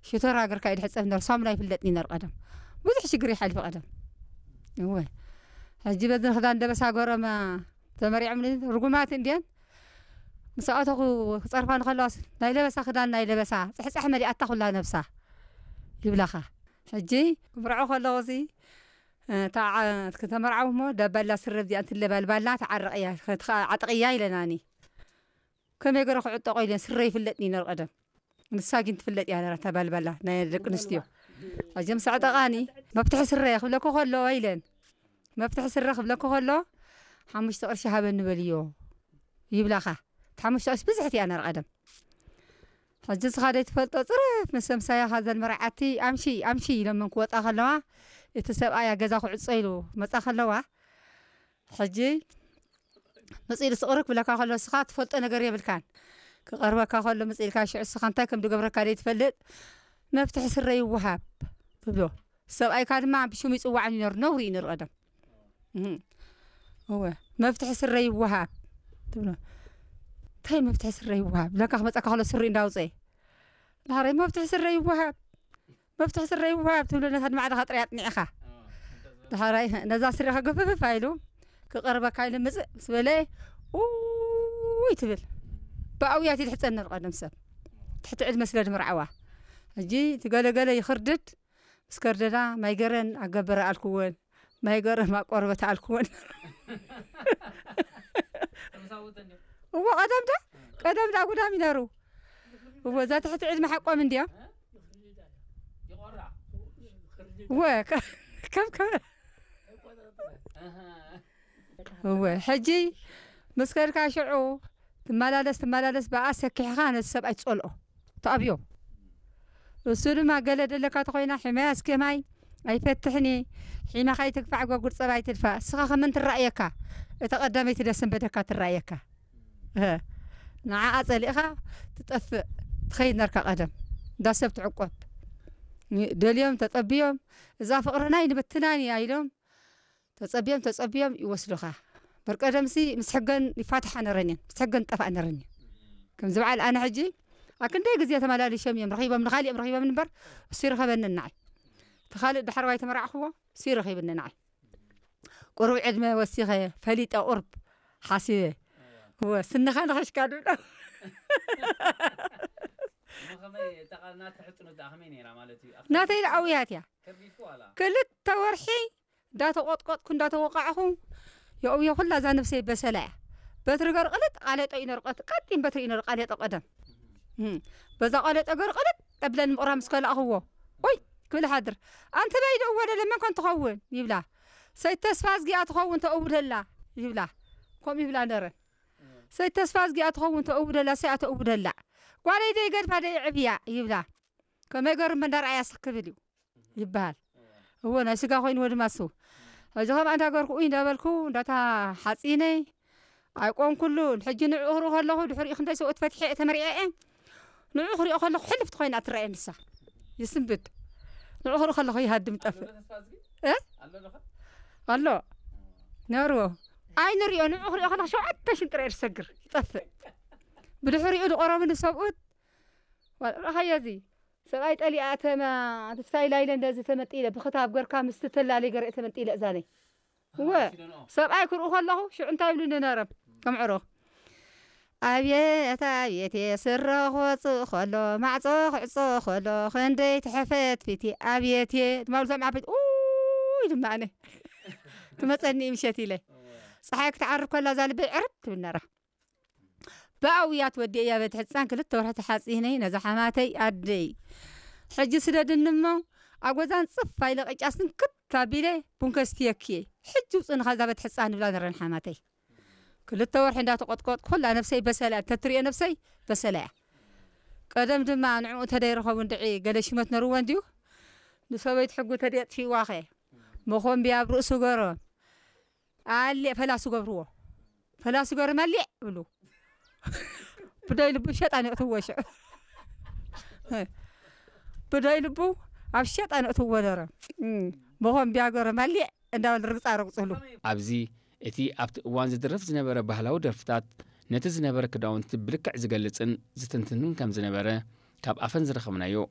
ሽቶራ ገርካ እዩ ድሕጸብ ነሩ። ሳሙና ይፍለጥኒ ነሩ ቀደም። ብዙሕ ሽግር ይሓልፍ ቀደም። እወ። ሕጂ በዚ ክዳን ደበሳ ገሮም ተመሪዖም ርጉማት እንድየን። ምስ ኣተኹ ክጸርፋ ንኸለዋስ ናይ ለበሳ ክዳን ናይ ለበሳ ጽሕጻሕ መሊኣታ ኩላ ነብሳ ይብላኻ። ሕጂ ክምርዖ ከለኹ እዚ፣ እ፣ ተዓ-፣ ከተመርዓው እሞ ዳባላ ስረ እዚኣ እንትለባልባላ ተዓረቕያ፣ ከትኻ-፣ ዓጥቕያ ኢለናኒ። ከመይ ገረ ክዕጠቖ ኢለን ስረ ይፍለጥኒ ነሩ ቀደም። ንሳ ግን ትፍለጥ እያ ነራ፣ እታ ባልባላ ናይ ደቂ ኣንስትዮ። ኣጀም ሰዕጠቓኒ፣ መፍትሒ ስረ ክብለኩ ከሎ ኢለን። መፍትሒ ስረ ክብለኩ ከሎ፣ ሓሙሽተ ቅርሺ ሃበኒ በልዮ ይብላኻ። እቲ ሓሙሽተ ቅርሺ ብዝሕቲ እያ ነራ ቀደም። ሕጂ እስኻ ደይ ትፈልጦ ጽርፍ ምስ ምሳያ ኻዘን መርዓቲ ኣምሺ፣ ኣምሺ ኢሎም ምን ክወጣ ከለዋ፣ እቲ ሰብኣያ ገዛ ክዕጾ ኢሉ መጻ ከለዋ፣ ሕጂ መጺኡ ስቕርክ ብለካ ከሎ እስኻ ትፈልጦ ነገር የብልካን። ክቐርበካ ከሎ መጺኡ ኢልካ ሽዑ እስኻ እንታይ ከም ዝገብረካ ደይ ትፈልጥ፣ መፍትሒ ስረ ይወሃብ ትብሎ። ሰብኣይካ ድማ ብሽሙ ይጽዋዕን ይነሩ፣ ነውሪ እዩ ነሩ ቀደም። እህ። እወ፣ መፍትሒ ስረ ይወሃብ ትብሎ። እንታይ መፍትሒ ስረ ይወሃብ? ብለካ ክመጻካ ከሎ ስሪ እንዳውጸ። ዳሕራይ መፍትሒ ስረ ይወሃብ፣ መፍትሒ ስረ ይወሃብ ትብሎ ነታ ንባዕልኻ ጥራይ ኣጥኒዕኻ። ዳሕራይ ነዛ ስሪኻ ገፍፍፍ ኢሉ ክቐርበካ ኢሉ ምጽእ ምስ በለ፣ ኡይ ትብል። ብኣውያት ይድሕጸን ነሩ ቀደም ሰብ። ትሕቲ ዕድመ ስለ ድምርዓዋ። ሕጂ እቲ ገለገለ ይኽርድድ፣ ምስ ከርደዳ ማይ ገረን ኣገበረ ኣልክወን፣ ማይ ገረን ማቆርበት ኣልክወን። እዎ ቀደም ዳ፣ ቀደም ዳ ጉዳም ይነሩ። እዎ እዛ ትሕቲ ዕድመ ሓቆም እንድዮም። እዎ ከ-፣ ከም ከ-፣ እዎ ሕጂ ምስ ከድካ ሽዑ ትመላለስ፣ ትመላለስ ብኣ ሰኪሕኻ ነቲ ሰብኣይ ትጸልኦ። ትኣብዮ። እሱ ድማ ገለ ደለካ ተኾይና፣ "ሕመያ እስከ ማይ ኣይፈትሕኒ፣ ሒመኻ ይትግፋዕ፣ ጎጉር ጸባ ይትድፋ። እስኻ ከመን ትረእየካ? እታ ቀዳመይቲ ደስ እንበደካ ትረእየካ። እህ፣ ንዓኣ ጸሊእኻ ትጠፍእ፣ ትኸይድ ነርካ ቀደም። እንዳ ሰብ ትዕቆብ። ደልዮም፣ ተጸብዮም፣ እዛ ፍቕርና ይንበትናን እያ" ኢሎም፣ ተጸብዮም፣ ተጸብዮም ይወስዱኻ። በርቀደምሲ ምስ ሕገን ይፋትሓ ነረን እየን፣ ምስ ሕገን ጠፋእ ነረን እየን። ከምዚ በዓል ኣነ ሕጂ፣ ኣክንደይ ግዜ ተመላሊሾም እዮም፣ ረኺቦም፣ ንኻሊኦም ረኺቦም እምበር፣ እሱ ይረኸበኒ ንዓይ። እቲ ካልእ ዳሕረዋይ ተመራዕኽዎ፣ እሱ ይረኺብኒ ንዓይ። ቁሩብ ዕድመ ወሲኸ፣ ፈሊጠ ቁርብ ሓሲበ። እወ፣ ስንኻ ንኸሽካ ድብሎ። እሞ ከመይ፣ እታ ቃል ናትካ ሕጽኖት ደኣ ከመይ ነይራ ማለት እዩ? ኣኽተ-፣ ናተይ ደኣ ኣውያት እያ። ከቢድኩ ዋላ? ክልተ ወርሒ እንዳተቆጥቆጥኩ እንዳተወቃዕኹ የእውየ ኩላ እዛ ነብሰይ በሰላ እያ። በትሪ ገርቕልጥ ቃሌጦ ይነርቀት፣ ቀጢን በትሪ ይነር ቃሌጦ ቀደም። እም፣ በዛ ቃሌጦ ገርቕልጥ እብለን ምቕራ ምስ ከላእኽዎ፣ "ኦይ!" ክብል ሓድር። "ኣንቲ በይ ደኡ ወደለ መን ኮን ትኸውን?" ይብላ። "ሰይ ተስፋ እዝጊኣ ትኸውን ተእውደላ" ይብላ። ከምኡ ይብላ ነረን። "ሰይ ተስፋ እዝጊኣ ትኸውን ተእውደላ፣ ሰይ ኣተእውደላ። ጓለይ ደይ ገድፋ ደይ ዕብያ" ይብላ። ከመይ ገሩ መንዳር ኣያ ስክብል እዩ። ይበሃል። እዎ፣ ናይ ስጋ ኮይኑ ወድማ እሱ። ሕጂ ከም ኣንዳ ገርኩ፣ ኡይ እንዳበልኩ፣ እንዳታ ሓጺነይ፣ ኣይቆምኩሉን። ሕጂ ንዕኡ ክርኢ ከለኹ፣ ድሕሪኡ ክንደይ ሰብኡት ፈትሐ እየ ተመሪዐ እየ። ንዕኡ ክሪኦ ከለኹ፣ ሕልፍቲ ኮይና ትረኣየ ንሳ። ይስንብድ። ንዕኡ ክርኢ ከለኹ፣ ይሃድም፣ ይጠፍእ። ኣሎ ተስፋ እዝጊ? እ? ኣሎ ዶ ኸ? ኣሎ። ነርዎ። ኣይ ንሪኦ፣ ንዕኡ ክሪኦ ከለኹ፣ ሸውዓተ ሽንጥረ እየ ዝሰግር። ይጠፍእ። ብድሕሪኡ፣ ዝቆረቡኒ ሰብኡት፣ ዋ-፣ ረኻዮ እዚ። ሰብኣይ ጠሊኣ ተማ-፣ ስታይል ኢለ እንደዚ ተመንጢለ፣ ብኽታብ ገርካ ምስቲ ተላሊ ገርእ ተመንጢለ እዛነይ። ኣሃ፣ እወ፣ ሲደንኦ። ሰብኣይ ክርኢ ከለኹ፣ ሽዑ እንታይ ይብሉኒ ነረም? ከም ዕሩኽ። "ኣብየት፣ ኣብየት፣ ስረ ክወጽእ ከሎ፣ ማዕጾ ክዕጾ ከሎ፣ ክንደይ ትሕፈት ፊቲ፣ ኣብየት" ድማ ብሉ ሰምዓ ፊት፣ ኡይ ድማ ኣነ። ትመጸኒ ምሸት ኢለ። እወ። ጸሓይ ክትዓርብ ከላ እዛ ልበይ ዕርብ ትብል ነራ። ብኣውያት ወዲኤያ ቤት ሕጻን ክልተ ወርሒ ተሓጺነይ ነዛ ሓማተይ ኣደይ። ሕጂ ስደድኒ እሞ ኣብ ገዛን ጽፍ ኣኢለ ቅጫ ስንክት ኣቢለ ቡን ከስትየኪ እየ። ሕጂ ውጽእኒ ካብዛ ቤት ሕጻን ንብላ ነረን ሓማተይ። ክልተ ወርሒ እንዳተቆጥቆጥኩ ኩላ ነብሰይ በሰላ እያ። እንተትሪኦ ነብሰይ በሰላ እያ። ቀደም ድማ ንዕኡ እንተደይረኸቡ እንድዒ ገለ ሽመት ነርዎ እንድዩ። ንሰበይቱ ሕጉ ተደጥፊዋኸ መኾንብያ ኣብ ርእሱ ገሮም። ኣሌ ፈላሱ ገብርዎ። ፈላሱ ገብሪ መሊዕ ብሉ። ብደይ ልቡ ሸጣን የእትዎ ሽዑ። ብደይ ልቡ ኣብ ሸጣን የእትዎ ነረ። እም፣ መኾንብያ ገረ መሊዕ እንዳበል ርግጻ ረግጽሉ። ኣብዚ እቲ ኣብቲ እዋን ዝድረፍ ዝነበረ ባህላዊ ደርፍታት ነቲ ዝነበረ ክዳውንቲ ብልክዕ ዝገልጽን ዝትንትንን ከም ዝነበረ ካብ ኣፈን ዝረኸብናዮ